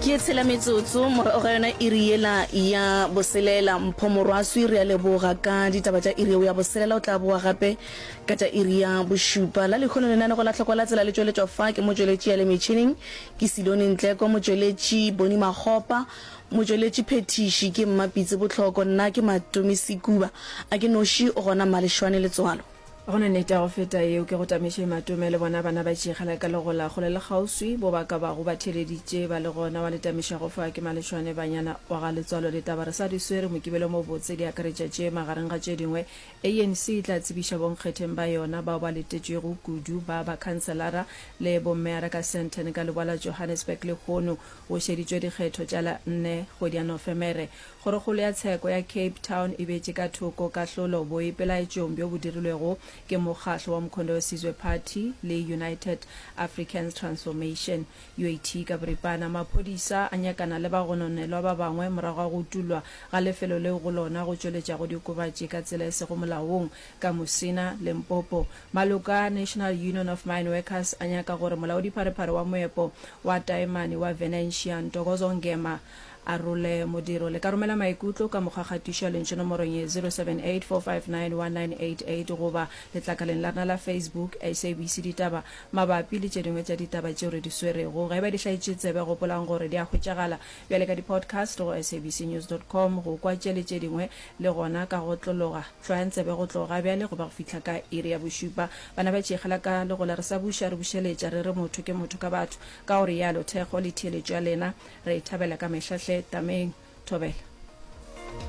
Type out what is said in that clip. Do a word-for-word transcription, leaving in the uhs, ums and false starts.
Ke tshela metsotso morago ga yona iri yela ya boselela. Mpho Morwaswi, re a leboga ka ditaba tša iri yeo ya boselela. O tla boa gape ka tša iri ya bošupa. La lehono lenanego la Hlokwa la Tsela le tšweletšwa fa ke motšweletši ya le metšhineng ke Silone Ntleko, motšweletši Boni Makgopa, motšweletši phethiši ke Mmapitse Bohloko, nna ke Matome Sekuba. A ke noši o gona Mmalešwane Letswalo. Ga go na nnete ya go feta yeo. Ke go tamiše Matome le bona bana ba tšeegela ka legola kgole le kgauswi bo ba ka bago ba theeleditše ba le gona. Wa le tamišago fa ke Malešwane Banyana wa ga Letswalo. Ditaba re sa di swere Mokibelo mo botse di akaretša tše magareng ga tše dingwe A N C e tla tsebiša bonkgetheng ba yona bao ba letetšwego kudu ba bakhanselara le bommeyara ka Sandton ka leboa la Johannesburg lehono go šeditšwe dikgetho tša la nne kgwedi ya Nofemere. Kgorokgolo ya Tsheko ya Cape Town e beetše ka thoko kahlolo boipelaetšong bjo bo dirilwego ke mokgahlo wa Mkhonto we Sizwe Party le United Africans Transformation, U A T ka boripana. Maphodisa a nyakana le bagononelwa ba bangwe morago ga go utollwa ga lefelo leo go lona go tšweletšago diokobatši ka tsela e sego molaong ka Musina, Limpopo. Maloko a National Union of Mineworkers a nyaka gore molaodipharephare wa moepo wa taemane wa Venetia, Ntokozo Ngema, a role modiro. Le ka romela maikutlo ka mokgwa kgatišo ya lentšu nomorong ye zero seven eight four five nine one nine eight eight goba letlakaleng la rena la Facebook, S A B C Ditaba, mabapi le tše dingwe tša ditaba tšeo re di swerego. Ge e ba di hlaetše tsebe, gopolang gore di a hwetšagala bjale ka di-podcast go S A B C news dot com go kwa tše le tše dingwe le gona ka go otlologa. Hlwayang tsebe go tloga bjale go ba go fihla ka iri ya bošupa. Bana ba tšeegela ka legola re sa buša re bušeletša re re motho ke motho ka batho. Ka go realo, thekgo le theeletšo ya lena re e thabela ka mehla hle. Tameng. Thobela.